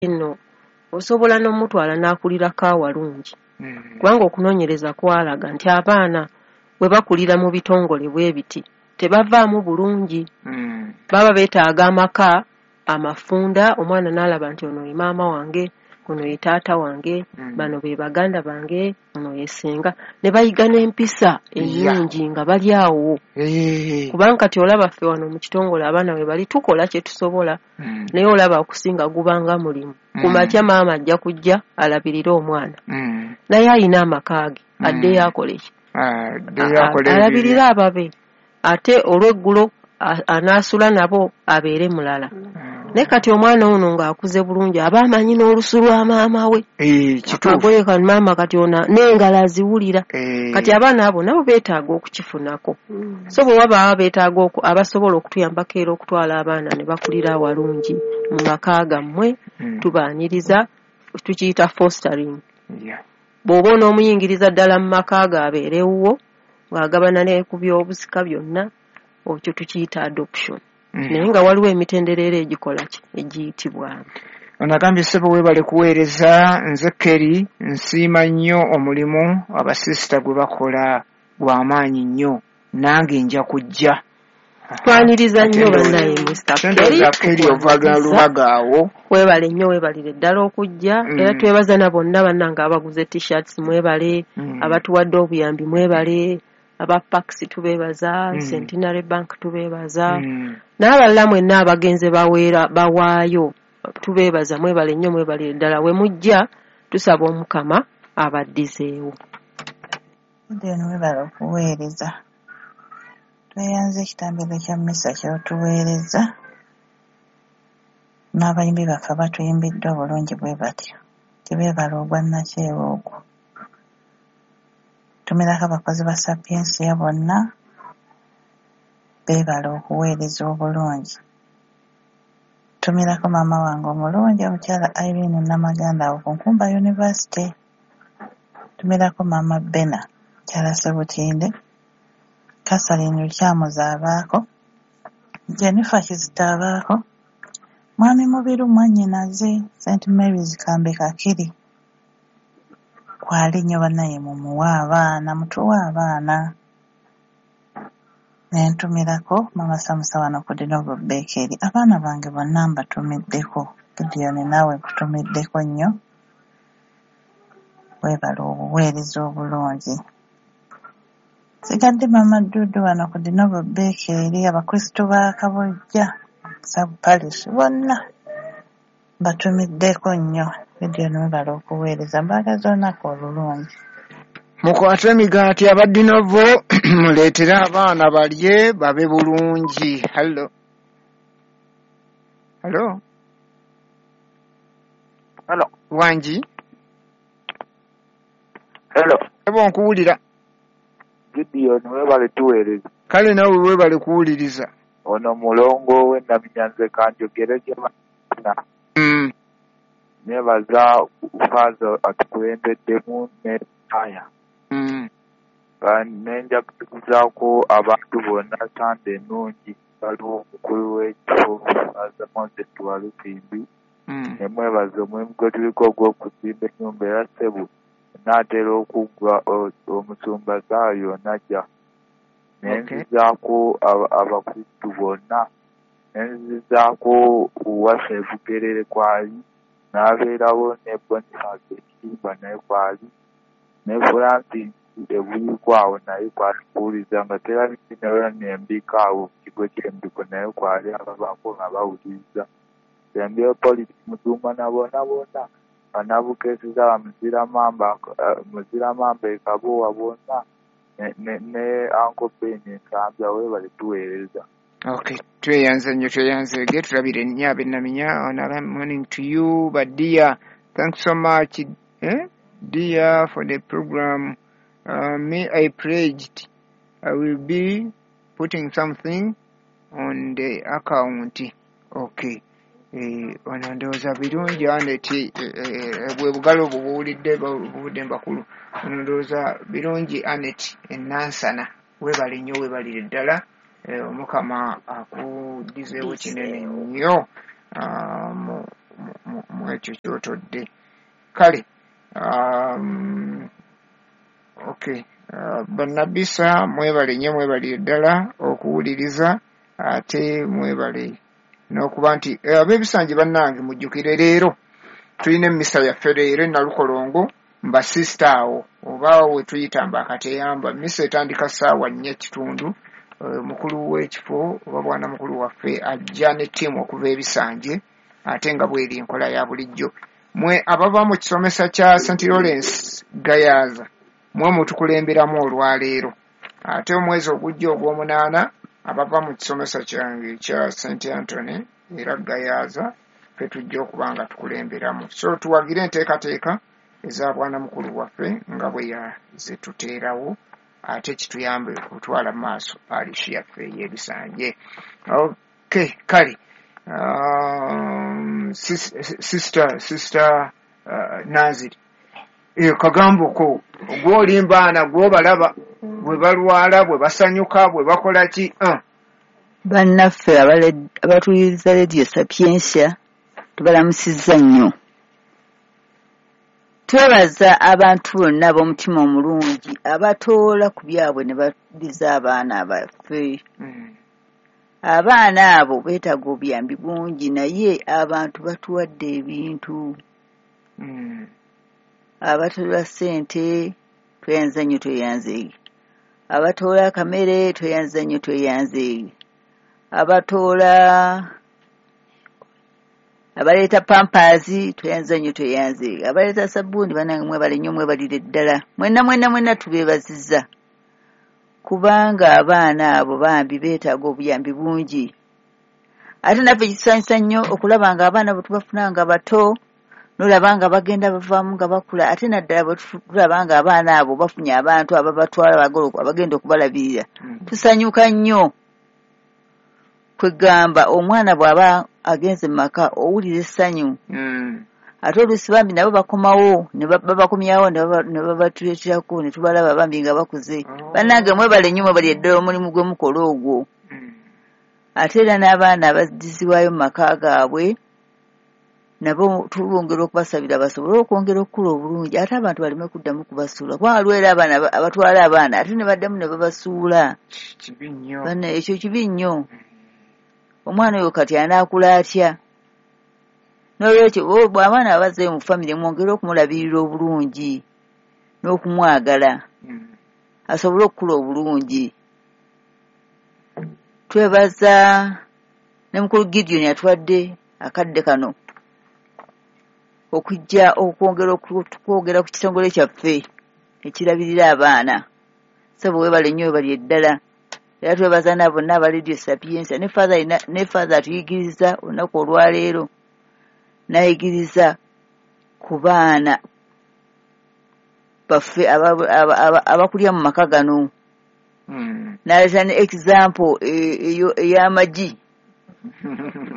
Nno osobola n'omutwala n'akulirako awalungi, kubanga okunoonyereza kwalaga nti abaana bwe bakulira mu bitongole bwe biti tebavaamu bulungi. Baba beetaaga amaka amafunda, omwana n'alaba nti ono ye maama wange, ono ye taata wange, bano be baganda bange, ono ye ssenga, ne bayiga n'empisa ennungi nga bali awo. Kubanga kati olaba ffe wano mu kitongole abaana we bali tukola kye tusobola, naye olaba okusinga gubanga mulimu. Ku makya maama ajja kujja alabirire omwana, naye ayina amaka ge, addeyo akole ki? Alabirire ababe, ate olw'eggulo anaasula nabo abeere mulala. Naye kati omwana ono ng'akuze bulungi aba amanyi n'olusu lwa maama we, akagoye ka maama kati ono n'engalo aziwulira. Kati abaana abo nabo beetaaga okukifunako. So bwe wabaawo beetaaga abasobola okutuyambako era okutwala abaana ne bakulira awalungi mu maka gammwe, tubaaniriza, tukiyita fostering. Bw'oba onoomuyingiriza ddala mu maka ge abeere ewuwo ng'agabana ne ku byobusika byonna, ekyo tukiyita adoption. Naye nga waliwo emitendera era egikola ki egiyitibwamu. Ono agambye, "Ssebo, weebale kuweereza. Nze Kerry, nsiima nnyo omulimu abasisita gwe bakola, gw'amaanyi nnyo. Nange nja kujja." Twaniriza nnyo bannaye Mr Ndowooza Kerry ovaga Lubaga awo. Weebale nnyo, weebalire ddala okujja. Era twebaza na bonna bannange abaguze T-shirts, mwebale. Abatuwadde obuyambi mwebale, aba Pax tubeebaza, Centenary Bank tubeebaza, n'abalala mwenna abagenze baweera bawaayo tubeebaza. Mwebale nnyo, mwebalire ddala. We mujja tusaba Omukama abaddizeewo. Gideon, weebale okuweereza. Tweyanze ekitambiro kya mmisa ky'otuweereza n'abayimbi baffe abatuyimbidde obulungi bwe batyo. Tebeebala ogwa nnakyewa ogwo. Tumirako abakozi ba Sapiensia bonna, beebale okuweereza obulungi. Tumirako maama wange omulungi, omukyala Irene Namaganda awo ku Nkumba University. Tumirako maama Bena, mukyala Sebutinde, Catherine Lukyamuzi abaako, Jennifer Kizito abaako, Mwami Mubiru mwannyinaze, St Mary's Kambe Kakiri kwali nnyo. Bannaye mumuwe abaana, mutuwe abaana. Ne ntumirako Maama Samusa wano ku Dinovo Bakery. Abaana bange bonna mbatumiddeko. Gideon, naawe nkutumiddeko nnyo, weebale obuweereza obulungi. Sigadde Maama Dudu wano ku Dinovo Bakery, Abakristu ba Kabojja Sub Parish bonna mbatumiddeko nnyo. Gideon, weebale okuweereza, mbaagaza olunaku olulungi. Mukwate emigaati abaddinovo, muleetere abaana balye babe bulungi. Hallo, hallo. Hello. Wangi? Hello. Ebo, nkuwulira. Gideon, webale tuweereza. Kale, nawe weebale kuwuliriza. Ono mulongo w'Ennaminyanze, kanjogere gye bana. Nebaza Faaza atukulembeddemu ne aya. Nenjaguzaako abantu bonna Sande ennungi. Waliwo omukulu w'ekifo, Faaza Moses Walusimbi, nemwebaza omulimu gwe tuliko ogw'okuzimba ennyumba. Era ssebo naatera okuggwa, omusumba saawa yonna. Nenzizaako Abakristu bonna, nenzizaako waffe Bugerere kwali, n'abeerawo ne Boniface Ekitimba naye kwali, ne Francis Ebuyiku awo naye kwali kuwuliriza nga terabye nembika awo mu kigo ky'Embiko naye kwali, ababaako nga bawuliriza. Sembyeyo Polisi Mutumba na bonna bonna bannabukesiza, Muziramamba e Kabowa bonna, ne Uncle Ben Ensambya. Weebale tuweereza. Okay, tweyanze nnyo, tweyanzeege, tulabire nnyo ab'Ennaminya. Ono, "Morning to you but dear, thanks so much, dear, for the program. Me, I pledged I will be putting something on the account." Okay. Ono ndowooza birungi Anet, bwe bugalo obwo buwulidde buvudde mbakulu. Ono ndowooza birungi Anet Enansana, weebale nnyo, weebalire ddala. Omukama akuddizeewo kinene nnyo. Mu ekyo ky'otodde. Kale okay, bannabisa mwebale nnyo, mwebalire ddala okuwuliriza, ate mwebale n'okuba nti ab'ebisanje bannange mujjukire leero tulina emmisa yaffe leero e Nalukolongo mbasisita awo oba we tuyita mbakateyamba. Mmisa etandika 4:15. Mukulu w'ekifo oba bwana mukulu waffe ajja ne ttiimu okuva ebisanje, ate nga bweri enkola ya bulijjo. Mwe abava mu kisomesa kya St. Lawrence Gayaza mwe mutukulemberamu olwaleero, ate omwezi ogujja ogw'omunaana abava mu kisomesa kyange ekya St. Anthony era Gayaza ffe tujja okuba nga tukulemberamu. So tuwagire enteekateeka eza bwana mukulu waffe nga bwe yazituteerawo, ate kituyambe okutwala mu maaso paalishi yaffe ey'ebisanje. Okay, kale sister Naziri, kagambo ko gw'olimbaana gw'obalaba bwe balwala, bwe basanyuka, bwe bakola ki? Bannaffe abatuwuliriza Radio Sapientia tubalamusizza nnyo. Twebaza abantu bonna ab'omutima omulungi abatoola ku byabwe ne baddiza abaana baffe. Abaana abo beetaaga obuyambi bungi, naye abantu batuwadde ebintu. Abatoola ssente tweyanza nnyo, tweyanzeege. Abatoola akamere tweyanza nnyo, tweyanzeege. Abatoola abaleeta pampaazi tweyanza nnyo, tweyanzeege. Abaleeta sabbuuni bannange mwebale nnyo, mwebalire ddala. Mwenna mwenna mwenna tubeebazizza, kubanga abaana abo bambi beetaaga obuyambi bungi. Ate naffe kitusanyusa nnyo okulaba nga abaana bwe tubafuna nga bato, n'olaba nga bagenda bavaamu nga bakula, ate naddala bwe tulaba nga abaana abo bafunye abantu ababatwala abagenda okubalabirira. Tusanyuka nnyo. Kwegamba omwana bw'aba agenze mu maka owulira essanyu. Ate oluusi bambi nabo bakomawo ne babakomyawo ne babatuleeterako ne tubalaba bambi nga bakuze. Bannange mwebale nnyo, mwebalire ddala omulimu gwe mukola ogwo. Ate era n'abaana abaddizibwayo mu maka gaabwe nabo tubongera okubasabira basobole okwongera okukula obulungi, ate abantu baleme kuddamu kubasuula, kubanga waliwo era abaana abatwala abaana ate ne baddamu ne babasuula. Kibi nnyo. Banna ekyo kibi nnyo. Omwana oyo kati anaakula atya? N'olwekyo bw'abaana abazzeeyo mu famire mwongere okumulabirira obulungi n'okumwagala asobole okukula obulungi. Twebaza ne mukulu Gideon atuwadde akadde kano okujja okwongera okwogera ku kitongole kyaffe ekirabirira abaana. Ssebo weebale nnyo, weebalire ddala. Era twebaza na bonna aba Radio Sapientia ne Father atuyigiriza olunaku olwaleero, n'ayigiriza ku baana baffe abakulira mu maka gano. N'aleeta ne example ey'amagi,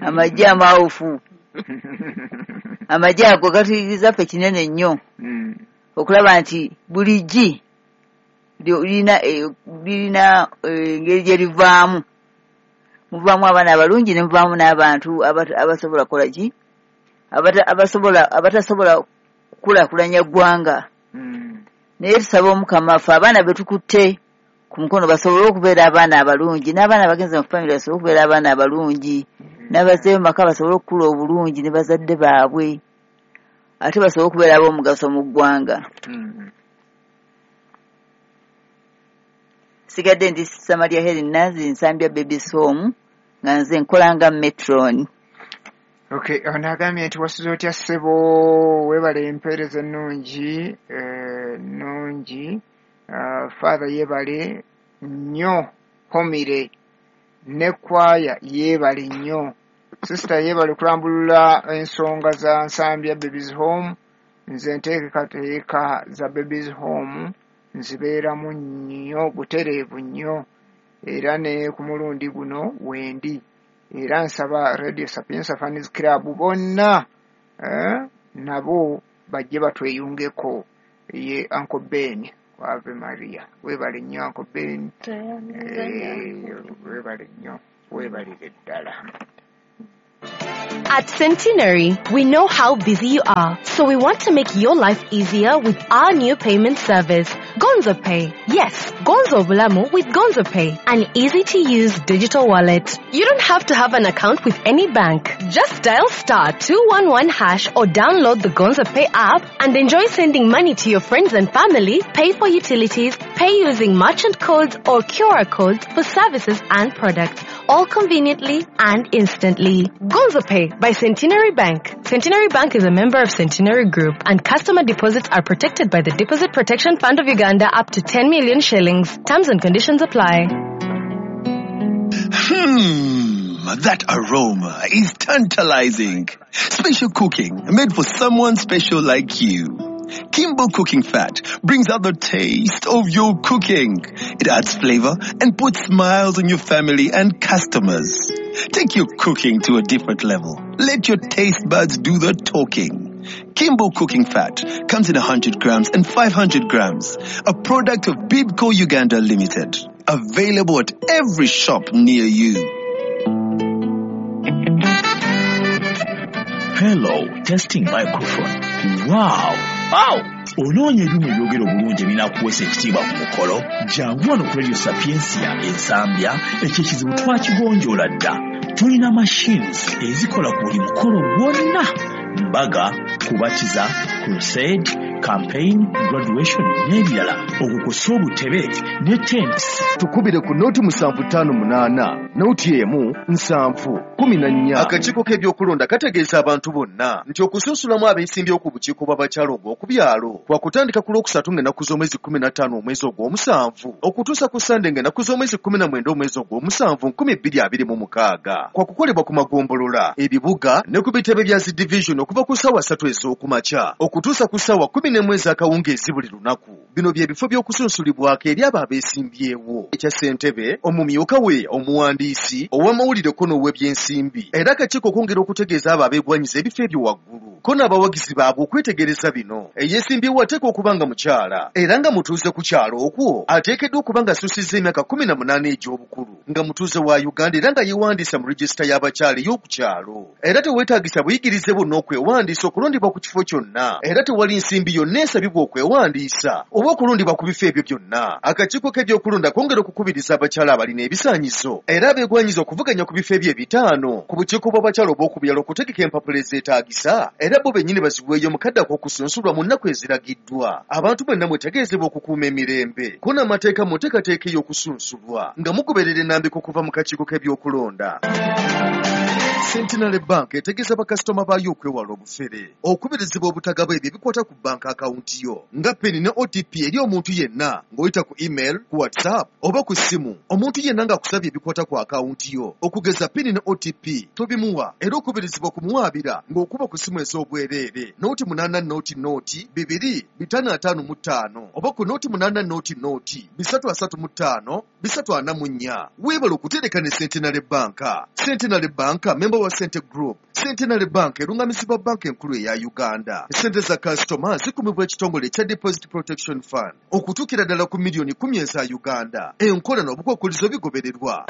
amagi amawufu. Amagi ago gatuyigiriza ffe kinene nnyo okulaba nti buli ggi lirina engeri gye livaamu. Muvaamu abaana abalungi ne muvaamu n'abantu abasobola kukola ki, abatasobola kukulaakulanya ggwanga. Naye tusaba Omukama ffe abaana be tukutte ku mukono basobole okubeera abaana abalungi, n'abaana abagenze mu famire basobole okubeera abaana abalungi, n'abazzeeyo mu maka basobole okukula obulungi ne bazadde baabwe, ate basobole okubeera ab'omugaso mu ggwanga. Sigadde ndi Samaria Helen Nanzi, Nsambya Babies Home, nga nze nkola nga matron. Okay, ono agambye nti wasuze otya ssebo, weebale empeereza ennungi nnungi. Father yeebale nnyo, homire ne kwaya yeebale nnyo. Sister yeebale kulambulula ensonga za Nsambya Babies Home. Nze nteekateeka za Babies Home nzibeeramu nnyo butereevu nnyo, era ne ku mulundi guno wendi. Era nsaba Radio Sapientia Fans Club bonna nabo bajje batweyungeko. Ye Uncle Ben Ave Maria, weebale nnyo Uncle Ben, weebale nnyo, weebalire ddala. At Centenary, we know how busy you are, so we want to make your life easier with our new payment service, Gonzo Pay. Yes, Gonzo Bulamu with Gonzo Pay, an easy-to-use digital wallet. You don't have to have an account with any bank. Just dial *211# or download the Gonzo Pay app and enjoy sending money to your friends and family, pay for utilities, pay using merchant codes or QR codes for services and products, all conveniently and instantly. Gonzo Pay by Centenary Bank. Centenary Bank is a member of Centenary Group, and customer deposits are protected by the Deposit Protection Fund of Uganda up to 10 million shillings. Terms and conditions apply. That aroma is tantalizing. Special cooking made for someone special like you. Kimbo Cooking Fat brings out the taste of your cooking. It adds flavor and puts smiles on your family and customers. Take your cooking to a different level. Let your taste buds do the talking. Kimbo Cooking Fat comes in 100 grams and 500 grams. A product of Bibco Uganda Limited. Available at every shop near you. Hello, testing microphone. Wow! Wow! Onoonya ebyuma ebyogera obulungi ebinaakuweesa ekitiibwa ku mukolo? Jangu wano ku Radio Sapientia Ensambya, ekyo ekizibu twakigonjoola dda. Tulina machines ezikola ku buli mukolo gwonna. Mbaga, kubatiza, crusade, campaign, graduation n'ebirala. Okukosa obutebe ne tents. Tukubire ku 0758 0 7 14. Akakiiko k'ebyokulonda kategeeza abantu bonna nti okusunsulamu abeesimbyewo ku bukiiko bw'abakyala obw'oku byalo kwakutandika ku Lwokusatu ng'ennaku z'omwezi 15 omwezi ogw'omusanvu okutuusa ku Sande ng'ennaku z'omwezi 19 omwezi ogw'omusanvu 2026. Kwakukolebwa ku magombolola, ebibuga ne ku bitebe bya zi division okuva ku ssaawa 3 ez'okumakya okutuusa ku ssaawa 11 ez'akawungeezi buli lunaku. Bino bye bifo by'okusunsulibwako eri abo abeesimbyewo: ekya ssentebe, omumyuka we, omuwandiisi, ow'amawulire ko n'ow'ebyensimbi. Era akakiiko okwongera okutegeeza abo abeegwanyiza ebifo ebyo waggulu ko n'abawagizi baabwe okwetegereza bino. Eyeesimbyewo ateekwa okuba nga mukyala era nga mutuuze ku kyalo okwo, ateekeddwa okuba nga asussizza emyaka 18 egy'obukulu, nga mutuuze wa Uganda era nga yeewandiisa mu regisita y'abakyala ey'oku kyalo. Era teweetaagisa buyigirize bwonna okwewandiisa okulondebwa ku kifo kyonna, era tewali nsimbi yonna esabibwa okwewandiisa oba okulondebwa ku bifo ebyo byonna. Akakiiko k'ebyokulonda kongera okukubiriza abakyala abalina ebisaanyizo era abeegwanyiza okuvuganya ku bifo ebyo ebitaano ku bukiiko bw'abakyala obw'oku byalo okutegeka empapula ezeetaagisa, era bo bennyini baziweeyo mu kadde ak'okusunsulwa mu nnaku eziragiddwa. Abantu mwenna mwetegeezebwa okukuuma emirembe ko n'amateeka mu nteekateeka ey'okusunsulwa nga mugoberera ennambiko okuva mu kakiiko k'ebyokulonda. Centenary Bank etegeeza bakasitoma baayo okwewala obufere, okubirizibwa obutagaba ebyo ebikwata ku banka akawunti yo nga PIN ne OTP eri omuntu yenna ng'oyita ku email, ku WhatsApp oba ku ssimu. Omuntu yenna ng'akusabye ebikwata ku akawunti yo okugeza PIN ne OTP tobimuwa, era okubirizibwa okumuwaabira ng'okuba ku ssimu ez'obwereere 080 0 2 555 oba ku 080 0 335 344. Weebale okutereka ne Centenary Bank. Centenary Bank member wa Cente Group. Centenary Bank erungamizibwa banka enkulu eya Uganda. Sente za kasitoma zikumibwa ekitongole ekya Deposit Protection Fund okutuukira ddala ku miliyoni 10 eza Uganda. Enkola n'obukwakkulizo bigobererwa.